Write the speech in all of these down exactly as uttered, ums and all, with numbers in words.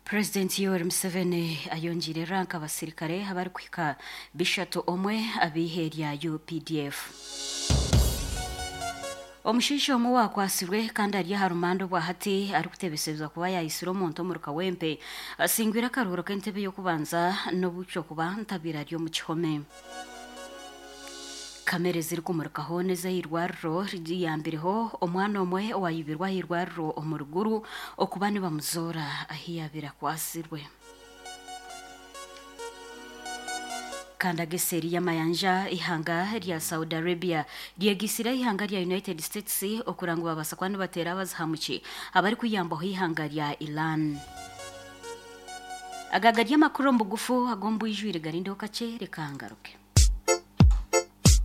Purezidenti Yoweri Museveni ayongiire ranka abasirikare abarikuhika bishatu omwe ab'ihe rya U P D F. Omushaija omwe wakwasirwe kandi ari aha rumanda obwahati arikutebesezwa kuba yayisire omuntu omuri Kawempe asingwire akaruhuro k'entebe y'okubanza n'obukyo kuba ntabiire ari omu kihome. Kamere zirikumurikaho n'ez'eirwariro riyambireho omwana omwe owayibirwe aha irwariro omu ruguru okuba nibamuzoora ahi yaabire akwasirwe. Kandi ageseeri y'amayanja, ihanga rya Saudi Arabia ryegisire ihanga rya United States okura ngu babaasa kuba nibateera abazihamuki abarikuyambaho ihanga rya Iran. Aga gari amakuru omu bugufu ag'omu bwijwire, garindeho kakye, reka ngaruke.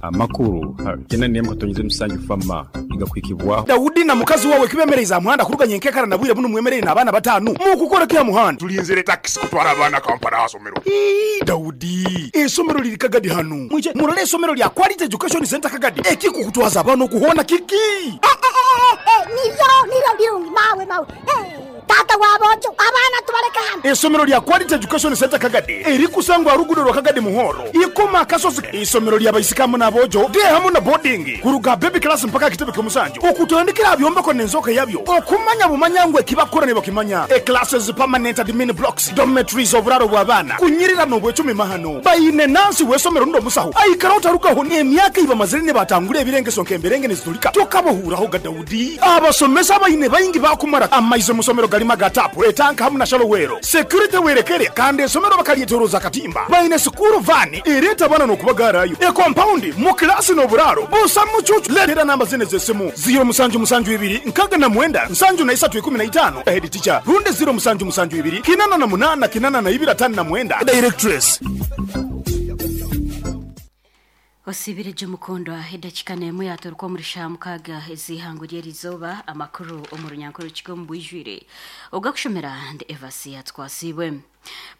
Amakuru kenda n'emwe katonyeze musanju fama igakwikibwaho. Dawudi na mukazi wawe kibemereza muhanda kuruganya enkekara na bwire buno mwemerere n'abaana batanu mukukora kya muhanda. Tulinzire takisi kutwara abaana Kampala hasomero. Ii, Dawudi, esomero liri Kagadi hanu, mwije murole esomero lya Quality Education Center Kagadi. Ekikukutwaza abaana okuhona kiki? Niryo niryo birungi mawe mawe. Eh, tata wabojo, abaana tubaleke hano. Esomero lya Quality Education Center Kagadi erikusangwa rugudo rwa Kagadi Muhoro ikoma akasozi, isomero lya baisikamu n'abojo de hamu na boarding kuruga baby class mpaka kitebe ky'omusanju, okutandikira byombeko n'enzoka yabyo okumanya bumanya ngu ekibakora ne bakimanya. E classes, permanent admin blocks, dormitories, oburaro bw'abaana kunyirira n'obwecumi mahano. Bayine nansi w'esomero ndo musaho aikara utarukaho emyaka ibamazire ne batangura ebirengeso nk'emberenge nezitulika tokabohuraho ga. Dawudi, abasomesa bayine bayingi bakumara amaize musomero galima ga tapu etanka hamu na shallow well, security werekere, kandi esomero bakalyetoroza katimba. Bayine school van ereta abana n'okubagarayo, e compound mu kilasi n'oburaro busa mucucu. Letera namba zine z'esimu: ziro musanju musanju ibiri nkaga na mwenda nsanju na isatu ikumi na itano, head teacher, rundi ziro musanju musanju ibiri kinana na munana kinana na ibiri atanu na mwenda, directress. Osibire mukundwa, edakika n'emwe yaturuka omuri shaaha mukaaga ez'ihango ry'erizooba. Amakuru omu runyankore kigo omu bwijwire ogakushomera ndi Evasi Yatwasibwe.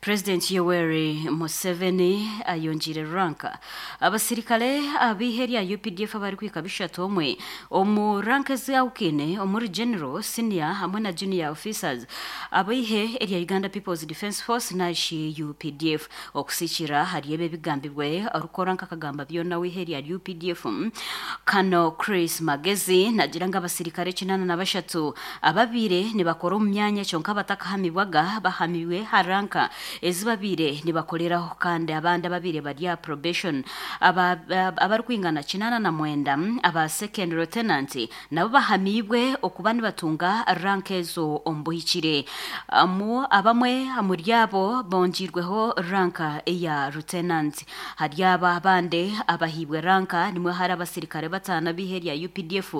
Purezidenti Yoweri Museveni ayongiire ranka abasirikare ab'ihe rya U P D F abarikwika bishatu omwe omu ranka ezahukine omuri general, senior hamwe na junior officers ab'ihe erya Uganda People's Defence Force nashi U P D F. Okusikira hari ebe ebigambibwe orukora nk'akagamba byona w'ihe rya U P D F, Kano Chris Magezi, nagira ngu abasirikare kinana na bashatu ababire nibakora omu myanya kyonka batakahamibwaga bahamibwe ha ranka ezi babire nibakoreraho, kandi abandi ababire bari aha probation aba- aba- abarikwingana kinana na mwenda aba second lieutenant nabo bahamibwe okuba nibatunga ranka ezo omu buhikire. Amu abamwe omuri abo bongirweho ranka eya lieutenant. Hari aba abandi abahibwe ranka nimwe hari abasirikare batano ab'ihe rya U P D F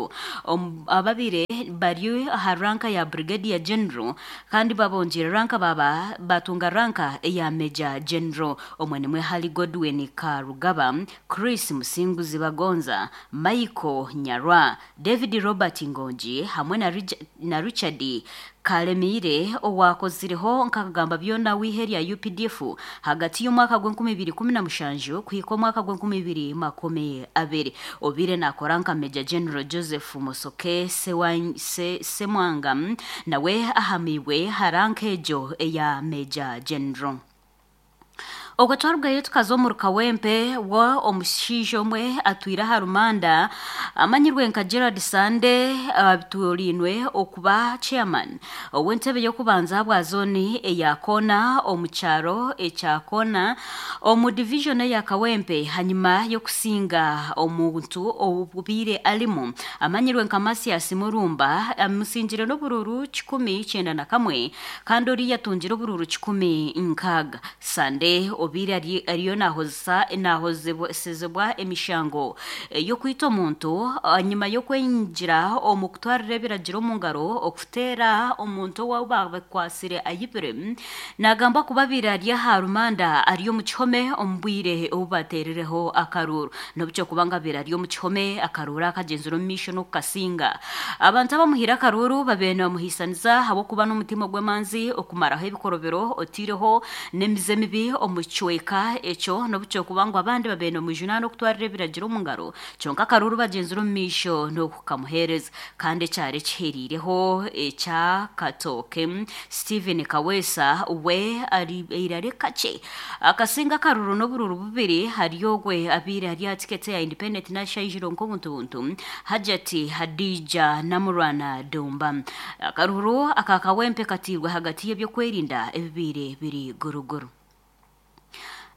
Om- ababire bari aha ranka ya brigadier general kandi babongera ranka baba batunga ranka eya major general. Omwe nimwe hari Godwin Karugaba, Chris Musinguzi Bagonza, Michael Nyarwa, David Robert Ngonji hamwe na, Rich- na Richard Kalemire owakozireho nkakagamba byona w'ihe rya U P D F hagati y'omwaka gw'enkumi ibiri kumi na mushanju kuhika omwaka gw'enkumi ibiri makumi abiri, obire nakora nka Major General. Joseph Musoke Sewa- Se- Semwanga nawe ahamibwe haranka ejo eya Major General. Ogwo twarugayo tukaza omu Rukawempe, wo omushaija omwe atwire aha rumanda amanyirwe nka Gerard Sande aturinwe okuba chairman ow'entebe y'okubanza bwa zoni eya Kona omu kyaro ekya Kona omu division eya Kawempe, hanyuma y'okusinga omuntu obubiire arimu amanyirwe nka Masias Murumba, amusingire n'obururu kikumi kyenda na kamwe kandi oriya atungire obururu kikumi nkaaga. Sande obiire ari- ariyo nahozesa nahozesezebwa emishango eh, y'okwita omuntu nyuma y'okwengira omu kutwarira ebiragiro omu ngaro okuteera omuntu owaaba bakwasire ayibire. Nagamba kuba abiire ari aha rumanda ari omu kihome omu bwire obu bateerereho akaruru, n'obukyo kubanga abiire ari omu kihome akaruru akagyenzire omu maisho n'okukasinga. Abantu abamuhire akaruru babiire nibamuhiisaniza ahabw'okuba n'omutima gw'emanzi okumaraho ebikorobero otiireho n'emize mibi omu ekicweka ekyo n'obukyokuba ngu abandi babeire nomujunana okutwarira ebiragiro omu ngaro kyonka akaruru bagyenzire omu maisho n'okukamuheereza kandi ekyaro ekiheriireho ekya Katooke Stephen Kaweesa we ari kakye akasinga akaruru n'obururu bubiri hari ogwe abiire ari aha tiketi ya Independent National nk'obuntu buntu Hajati Hadija Namurwana Dumba akaruru aka Kawempe katiirwe hagati y'ebyokwerinda ebibiire biri guruguru.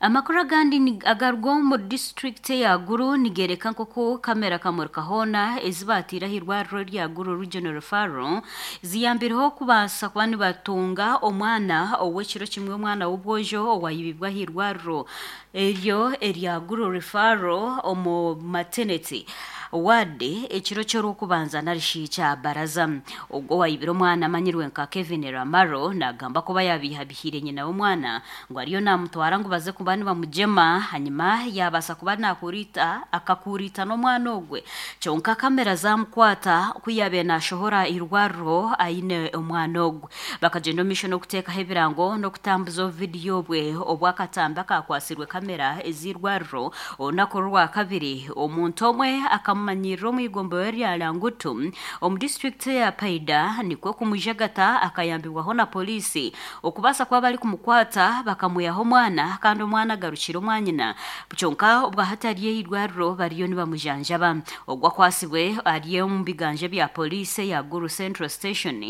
Amakuru agandi agarwa omu disitulikiti ya Guru nigereka nk'oku kamera kamurika hoona ezibaatiire aha irwariro rya Guru Regional Referral ziyambireho kubaasa kuba nibatunga omwana ow'ekiro kimwe omwana w'obwojo owayibibwa aha irwariro eryo erya Guru Referral omu maternity ward ekiro ky'orwokubanza narishi kya baraza. Ogwo wayibire omwana amanyirwe nka Kevin Ramaro nagamba kuba yabihabihire nyina w'omwana ngu ariyo namutwara ngu baze kuba nibamugyema hanyuma yabaasa kuba nakurita akakurita n'omwana ogwe kyonka kamera zamukwata ku yabiire nashohora irwariro aine omwana ogwe. Bakagyenda omu maisho n'okuteekaho ebirango n'okutambuza obuvidiyo bwe obwakatambi akakwasirwe kamera ez'irwariro olunaku orwa kabiri omuntu omwe akamumanyirira omu igomborero rya Langutu omu disitulikiti ya Paida nikwo kumujagata akayambibwaho na polisi okubaasa kuba bari kumukwata bakamwihaho omwana kandi omwana agarukire omwanyina kyonka obwahati ari eirwariro bariyo nibamujanjaba. Ogwo akwasibwe ari omu biganja bya polisi ya Guru Central Station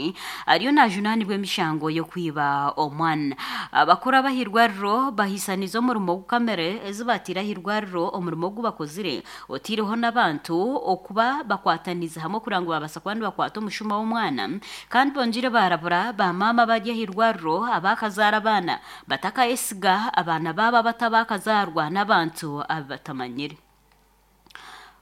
ariyo najunanibwa emishango y'okwiba omwana. Abakuru ab'ahairwariro bahisaniza omurimo gw'kamera ezibaatiire ahairwariro omurimo ogu bakozire otiireho n'abantu okuba bakwataniza hamwe kugira ngu babaasa kuba nibakwata omushuma w'omwana kandi bongire barabura bamaama bari ahairwariro abakazaara abaana batakayesiga abaana baabo abatabakazaarwa n'abantu abatamanyire.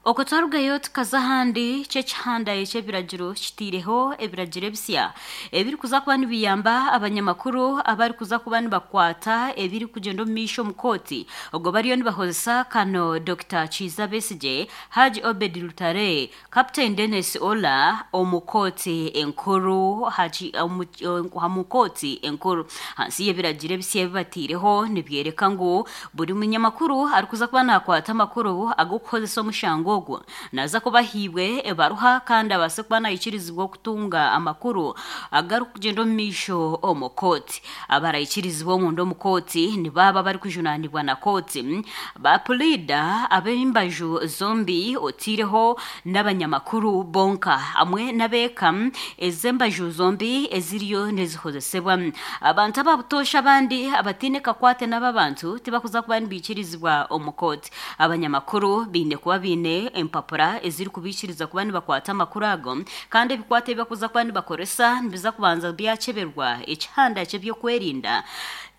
Okwo twarugayo tukaza ahandi ky'ekihanda eky'ebiragiro kitiireho ebiragiro ebisya ebirikuza kuba nibiyamba abanyamakuru abarikuza kuba nibakwata ebirikugyenda omu maisho omu kooti ogwo bariyo nibakozesa kano Doctor Kiiza Besigye, Haji Obed Lutale, Captain Dennis Ola omu kooti enkuru Haji omu kooti enkuru. Hansi y'ebiragiro ebisya ebibatiireho nibyereka ngu buri munyamakuru arikuza kuba nakwata amakuru ag'okukozesa omushango ogwo naza kubahiibwe ebaruha kandi abaase kuba nayikirizibwa okutunga amakuru agarikugenda omu maisho omu kooti. Abarayikirizibwa omunda omu kooti nibaaba barikujunanibwa na kooti bapuliida ab'embaju zombi otiireho n'abanyamakuru bonka hamwe n'abeeka ez'embaju zombi eziriyo nizikozesebwa. Abantu ababutoosha abandi abatiine kakwate n'ababantu tibakuza kuba nibiikirizibwa omu kooti. Abanyamakuru baine kuba baine empapura ezirikubikiriza kuba nibakwata amakuru ago kandi ebikwate ebibakuza kuba nibakoresa nibiza kubanza byakeberwa ekihanda ky'ebyokwerinda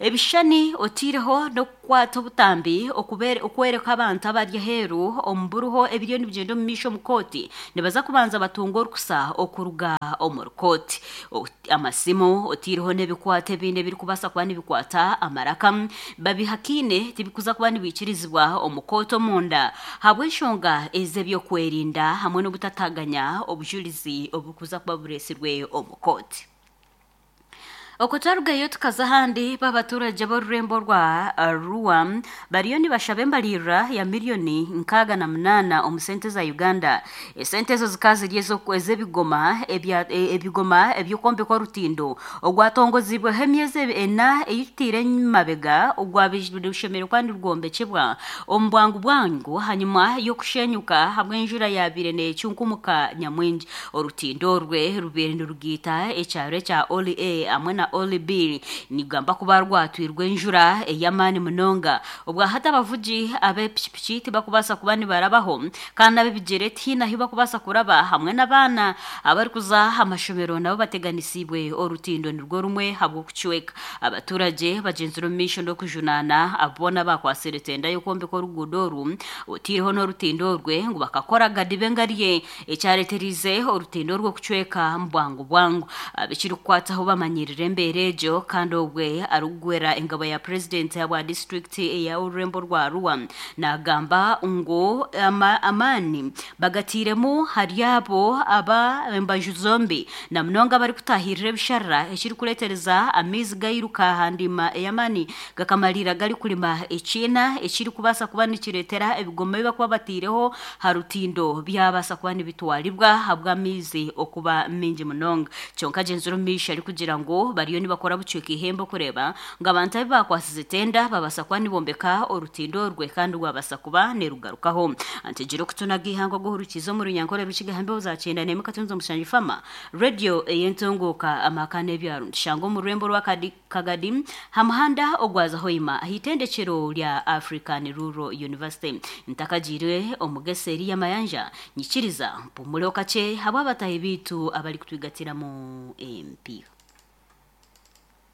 ebishushani otiireho n'okukwata obutambi okwereka abantu abari aheeru omu buruho ebiriyo nibigyenda omu maisho omu kooti nibaza kubanza batunga orukusa okuruga omu rukooti. Amasimu otiireho n'ebikwate ebindi ebirikubaasa kuba nibikwata amaraka babihakiine tibikuza kuba nibiikirizibwa omu kooti omunda habw'enshonga ez'ebyokwerinda hamwe n'obutataganya obujulizi obukuza kuba bureesirwe omu kooti. Okwo twarugayo tukaza ahandi b'abaturage b'orurembo rwa Arua bariyo nibashaba embalirira ya miliyoni nkaaga na munaana omu sente za Uganda. Esente ezo zikaba ziri ez'ebigoma ebigoma eby'okwombeka orutindo ogwatongozibweho emyezi ena eyitutiire emabega ogwabishemereire kuba nirwombekebwa omu bwangu bwangu hanyuma y'okushenyuka habw'enjura yabiire neecunkumuka nyamwingi. Orutindo orwe rubiire nirugiita ekyaro ekya Oli A hamwe na Oli B nigamba kuba rwatwirwe enjura ey'amaani munonga. Obwahati abavugi ab'epikipiki tibakubaasa kuba nibarabaho kandi ab'ebigyere tihaine ahu bakubaasa kuraba hamwe n'abaana abarikuza amashomero nabo bateganisiibwe orutindo nirwo rumwe habw'okucweka. Abaturage bagyenzire omu maisho n'okujunaana abo boona bakwasire tenda y'okwombeka oruguudo oru otiireho n'orutindo orwe ngu bakakora gadibe ngarye ekyareeterize orutindo orwo kucweka mu bwangu bwangu. Abekirikukwataho bamanyirire embeera egyo kandi obwe arikugwera engabo ya purezidenti wa disitulikiti eya orurembo rwa Arua nagamba ngu ama, amaani bagatiiremu hari abo aba embaju zombi na munonga barikutahirira ebisharara ekirikureetereza amaizi gairuka aha ndima ey'amaani gakamalira garikurima ekiina ekirikubaasa kuba nikireetera ebigoma ebi bakuba batiireho ha rutindo byabaasa kuba nibitwaribwa habw'amaizi okuba mingi munonga. Kyonka agyenzire omu maisho arikugira ngu bariyo nibakora bucweka ihembe okureeba ngu abantu abu bakwasize tenda babaasa kuba nibombeka orutindo orwe kandi rwabasa kuba nirugarukaho. Antegire okutunaga ihanga oguhurukiza omu runyankore rukiga hambeho za kyenda n'emwe katunzi omushanju fama radio ey'entunguuka amaka n'ebyaro nitushanga omu rurembo rwa Kadi- Kagadi ha muhanda ogwaza Hoima ah'itendekero rya African Rural University. Ntakagiire omugese eri y'amayanja nyikiriza mpumuleho kakye habw'abatahi biitu abarikutwigatiramu empiiha.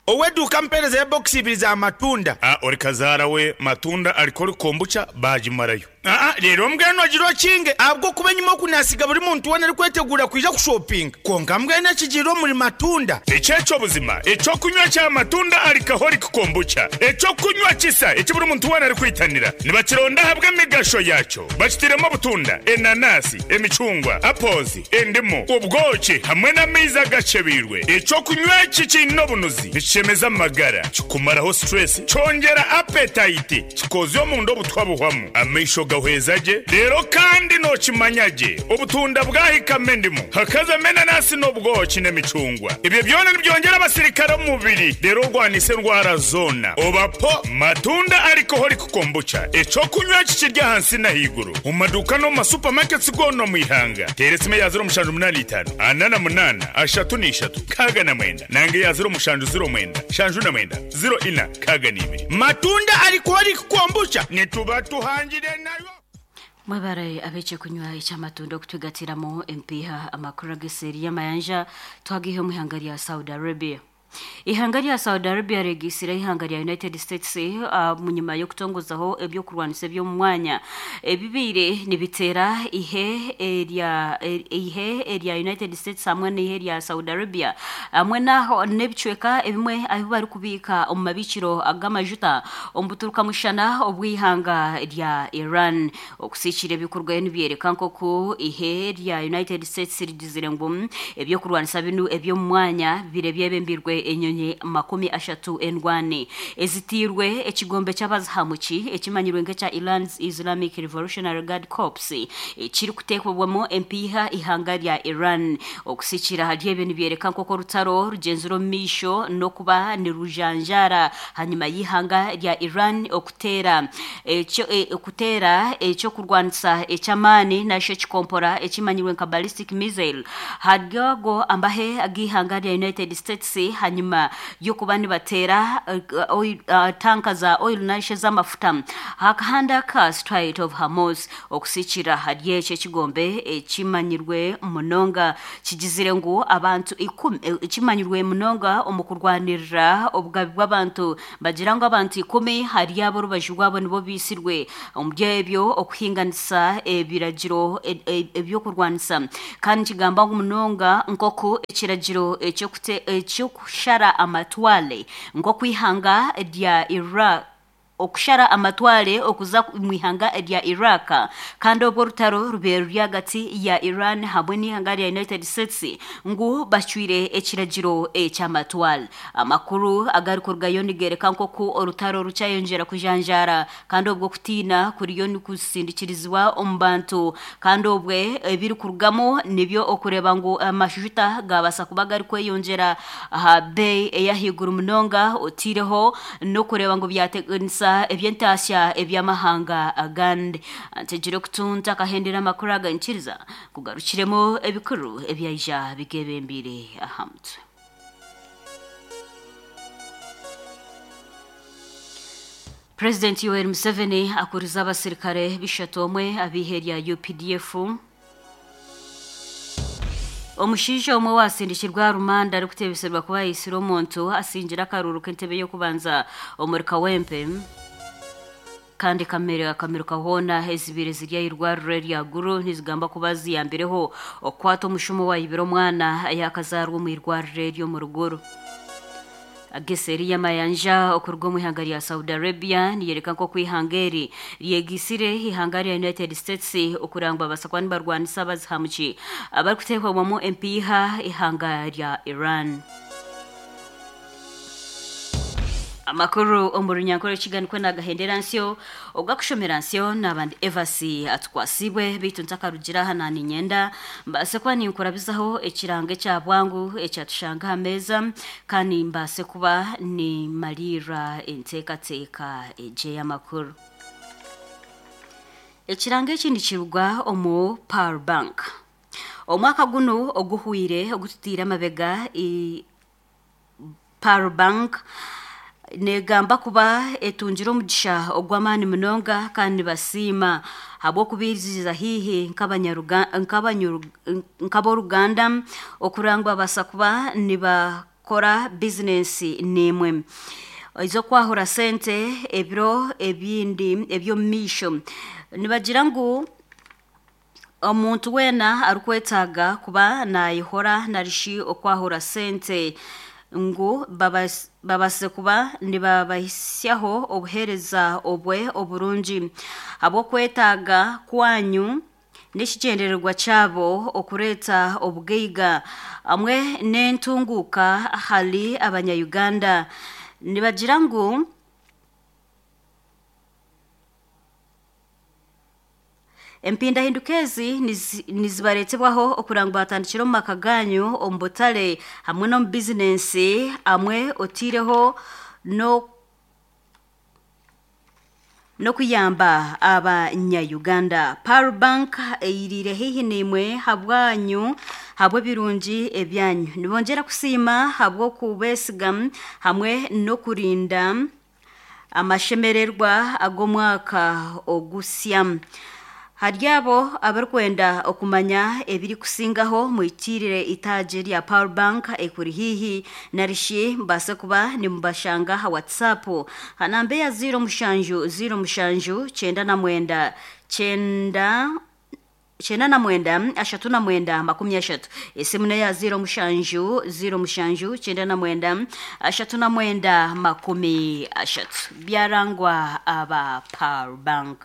Oweduuka mpeereza ya bokisi ibiri za matunda. Ah, ori kazaara we matunda ariko kombucha bagimarayo. Aa rero mbwenu ogira okinge ahabw'okuba enyima oku nasiga buri muntu weena arikwetegura kwija kushopinga konka mbwenu ekigiire omuri matunda. Ekyekyo buzima ekyokunywa kya matunda alcoholic kombucha ekyokunywa kisa eki buri muntu weena arikwitanira nibakironda ahabw'emigasho yakyo bakitiremu obutunda, enanasi, emicungwa, apples, endimu, obwoki hamwe n'amaizi agacebiirwe. Ekyokunywa eki kiine obunuzi nikishemeza amagara, kikumaraho stress, kyongera appetite, kikozya omunda obutwa buhwamu, amaisho gahweza gye. Rero kandi nokimanya gye obutunda bwahikamo endimu hakazamo enanasi n'obwoki n'emicungwa, ebyo byona nibyongera abasirikare omu mubiri rero orwanisa endwara zoona. Obapo matunda alcoholic kombucha ekyokunywa eki kiri ahansi n'ahaiguru omu maduuka n'omu masupamaketi goona omu ihanga. Teera esimu eya ziro mushanju munaana itaano ana na munaana ashatu n'ishatu nkaaga na mwenda nange eya ziro mushanju ziro mwenda shanju na mwenda ziro ina nkaaga n'ibiri. Matunda alcoholic kombucha nituba tuhangire nayo. Mwebare abekye kunywa ekyamatunda okutwigatiramu empiiha. Amakuru ageseeri y'amayanja twagihe omu ihanga rya Saudi Arabia. Ihanga rya Saudi Arabia regisire ihanga rya United States uh, munyuma y'okutongozaho ebyokurwanisa eby'omu mwanya ebibiire nibiteera ihe erya ihe erya United States hamwe n'ihe rya Saudi Arabia hamwe naho n'ebicweka ebimwe ahu barikubiika omu mabiikiro ag'amajuta omu buturukamushana obw'ihanga rya Iran. Okusiikira ebikorwayo nibyereka nk'oku ihe rya United States rigizire ngu ebyokurwanisa binu eby'omu mwanya bire byebembirwe enyonyi makumi ashatu endwani ezitiirwe ekigombe ky'abazihamuki ekimanyirwe nk'ekya Iran's Islamic Revolutionary Guard Corps ekirikuteekebwamu empiiha ihanga rya Iran. Okusiikira hari ebyo nibyereka nk'oku orutaro rugyenzire omu maisho n'okuba nirujanjaara hanyuma y'ihanga rya Iran okuteera ekyo e, okuteera ekyokurwanisa eky'amaani nakyo ekikompora ekimanyirwe nka ballistic missile haryago ambahe ag'ihanga rya United States hanyuma y'okuba nibateera uh, oil, uh, tanka za oil nashe z'amafuta hakahanda ka Strait of Hormuz. Okusiikira hari ekyo ekigombe ekimanyirwe munonga kigizire ngu abantu ikumi ekimanyirwe munonga omu kurwanirira obugabi bw'abantu bagira ngu abantu ikumi hari abo orubaju rwabo nibo biisirwe omu byebyo okuhinganisa ebiragiro ebyokurwanisa. Kandi kigamba ngu munonga nk'oku ekiragiro ekyokushara amatwale nk'oku ihanga rya Iraq okushara amatwale okuza mu ihanga rya Iraq kandi obwo orutaro rubeere ruri hagati ya Iran hamwe n'ihanga rya United States ngu bacwire ekiragiro ekyamatwale. Amakuru agarikurugayo nigereka nk'oku orutaro rukyayongyera kujanjaara kandi obwo kutiina kuriyo nikusindikirizibwa omu bantu kandi obwe ebirikurugamu nibyo okureeba ngu amashuta gabaasa kuba garikweyongyera aha beeyi ey'ahaiguru munonga otiireho n'okureeba ngu byateganisa ebyentasya ebyamahanga agandi. Ntegire okutunta akahendera amakuru aga nkiriza kugarukiremu ebikuru ebyaija bigebembire aha mutwe. President Yoweri Museveni akuriza abasirikare bishatu omwe ab'ihe rya U P D F. Omushaija omwe wasindikirwa rumanda arikuteebeserwa kuba yaisire omuntu asingira akaruru k'entebe y'okubanza omuri Kawempe. Kandi kamere akamiruka hoona ezibire ziri ah'irwariro rya Guru nizigamba kuba ziyambireho okukwata omushumo wayibire omwana ayakazaarwa omu irwariro ery'omu Ruguru. Ageseri y'amayanja okuruga omu ihanga rya Saudi Arabia niyereka nk'oku ihanga eri ryegisire ihanga rya United States okurangwa basakuba nibarwanisa abazihamuki abarikuteekwamu empiiha ihanga rya Iran. Amakuru omu runyankore kiganikwe nagahendera nsyo ogakushomera nsyo n'abandi Evasi atukwasibwe beitu ntakarugira aha naninyenda mbase kuba ninkurabizaho ekirango ekya bwangu ekyatushanga aha meeza kandi mbase kuba nimalira enteekateeka egye y'amakuru. Ekirango eki nikirugwa omu Power Bank. Omwaka guno oguhwire ogututiire amabega i Power Bank negamba kuba etungire omugisha ogw'amaani munonga kandi nibasiima habw'okubiriza haihi nk'aboruganda okurangwa basa kuba nibakora bizinesi n'emwe ez'okwahura sente ebiro ebindi eby'omu maisho. Nibagira ngu omuntu weena arikwetaaga kuba naayehora narishi okwahura sente ngu babase kuba nibabahisyaho obuheereza obwe oburungi habw'okwetaaga kwanyu n'ekigyendererwa kyabo okureeta obugaiga hamwe n'entunguuka ahari abanya-Uganda. Nibagira ngu empindahinduka ezi nizibareetebwaho okurangwa batandikire omu maka ganyu omu butare hamwe n'omu bizinensi hamwe otiireho n'okuyamba abanya-Uganda. Power Bank eyiriire haihi n'imwe habwanyu habw'ebirungi ebyanyu. Nibongyera kusiima habw'okubeesiga hamwe n'okurinda amashemererwa ag'omwaka ogusya. Hari abo abarikwenda okumanya ebirikusingaho mwitiirire itaagi rya Power Bank ekuri haihi narishi mbaase kuba nimubashanga aha WhatsApp ha namba eya ziro mushanju ziro mushanju kyenda na mwenda kyenda kyenda na mwenda ashatu na mwenda makumi ashatu. Esimu neya ziro mushanju ziro mushanju kyenda na mwenda ashatu na mwenda makumi ashatu. Byarangwa aba Power Bank.